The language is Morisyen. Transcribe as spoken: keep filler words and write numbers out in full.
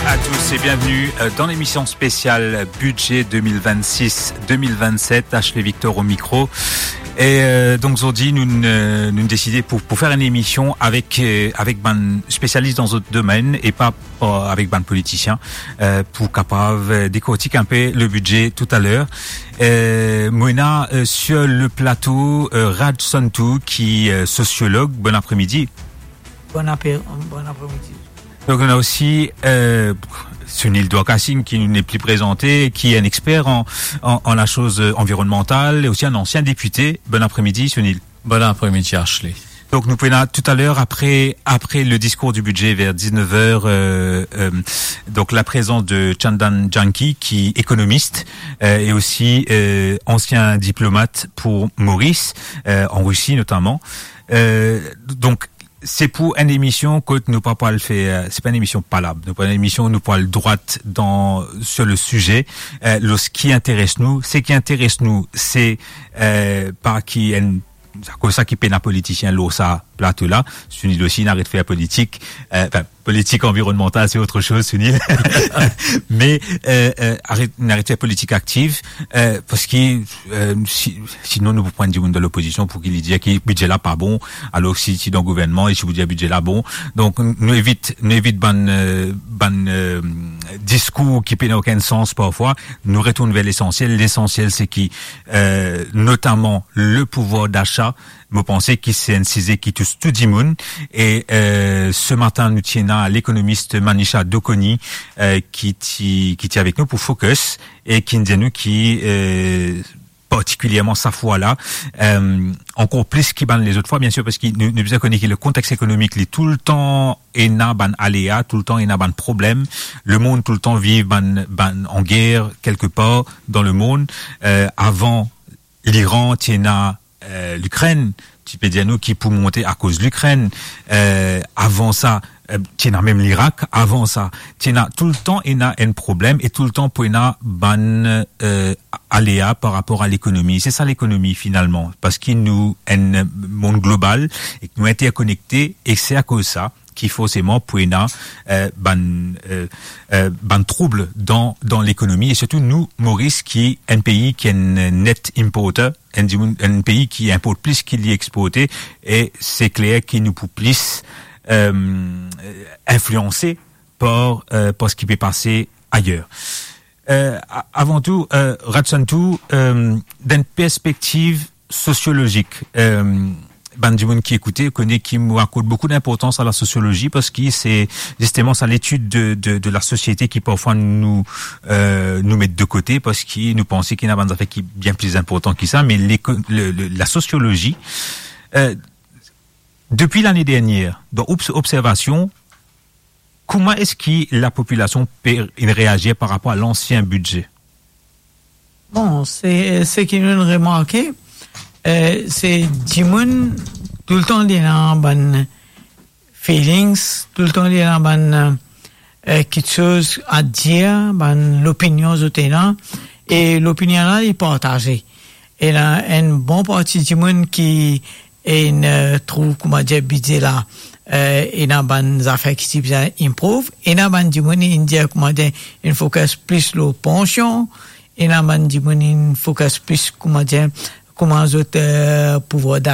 À tous et bienvenue, euh, dans l'émission spéciale budget deux mille vingt-six deux mille vingt-sept, Ashley Victor au micro. E, euh, donk, zordi, nou, euh, nou deside pou, pou fer enn emision avek, euh, avek bann spesialis dan zot domenn e pa, pa avek bann politisien, euh, pou kapav, euh, dekortik inpe le bidze toutaler. Euh, mo ena, euh, sur le plato, euh, Raj Santu, ki, euh, sosiolog. Bon apremidi. Bon apre-, bon apremidi. Donk, nou ena osi, euh, Sunil Dwarka Singh, ki nou nepli prezante, ki enn exper an, an, an lasoz, euh, anvironnmantal, e osi enn ansien depite. Bon apremidi, Sunil. Bon apremidi, Ashley. Donk, nou pou ena toutaler, apre, apre le diskour du bidze, ver diznef er, euh, euh, donk, la prezans de Chandan Janki, ki ekonomis, euh, e osi, euh, ansien diplomat pou Moris, euh, an Risi notaman. Euh, donk, se pou enn emision kot nou pa pou al fer, se pa enn emision palab, nou pa enn emision, nou pou al drwat dan, sur le size, euh, lor seki interes nou. Seki interes nou, se, euh, pa ki enn, akoz sa ki pena politisien lor sa plato la. Sunil osi, inn aret fer politik, euh, anfin, politik anvironnmantal, se otre soz, Sunil. Me, euh, euh, aret, inn aret fer politik aktiv, euh, parski, euh, si, sinon nou pou pran dimoun dan lopozision pou ki li dir ki bidze la pa bon, alor si, si dan gouvernman, e si pou dir bidze la bon. Donk, nou evit, nou evit bann, euh, bann, euh, diskour ki pena okenn sans parfwa. Nou retourn ver lesansiel. Lesansiel, se ki, euh, notaman le pouvwar dasa, mo panse ki se enn size ki tous tou dimoun. E, euh, se matin, nou ti ena lekonomis Manisha Dokhoni, euh, ki ti, ki ti avek nou pou Focus e ki dir nou ki, euh, partikilierman sa fwa la, euh, ankor plis ki bann lezot fwa, biensir, parski nou, nou bizin kone ki le kontex ekonomik, li toultan ena bann alea, toultan ena bann problem. Lemond toultan viv bann, bann an ger kelkepar dan lemond. Euh, avan Liran, ti ena, euh, Likrenn, ti pe dir nou ki pou monte akoz Likrenn. Euh, avan sa, euh, ti ena mem Lirak. Avan sa, ti ena toultan ena enn problem e toultan pou ena bann, euh, alea par rapor a lekonomi. Se sa lekonomi finalman, parski nou enn mond global e nou interkonekte, e se akoz sa ki forseman pou ena, euh, bann, euh, euh, bann troub dan, dan lekonomi, e sirtou nou, Moris, ki enn pei ki enn net importer, enn dimoun, enn pei ki inport plis ki li exporte, e se kler ki nou pou plis, euh, inflianse par, euh, par seki pe pase ayer. Euh, a-, avan tou, euh, Raj Santu, euh, dan enn perspektiv sosiolozik, euh, bann dimoun ki ekoute, kone ki mo akord boukou dinportans a la sosiolozi, parski se zisteman sa letid de, de, de la sosiete ki parfwa nou, euh, nou met de kote, parski nou panse ki ena bann zafer ki bien pli inportan ki sa, me leko-, le, le, la sosiolozi, euh, depi lane dernier, dan obs-, observasion, kouma eski lapopilasion pe reazir par rapor a lansien bidze? Bon, se, seki nou remarke, euh, se dimoun toultan li ena bann feelings, toultan li ena bann, euh, kiksoz a dir, bann lopinion zot ena, e lopinion la, li partaze. Ena enn bon parti dimoun ki inn, euh, trouv, kouma dir, bidze la, euh, ena bann zafer ki ti bizin improve. Ena bann dimoun inn dir, kouma dir, inn focus plis lor pansion. Ena bann dimoun inn focus plis, kouma dir, kouma zot, euh, pouvwar da-,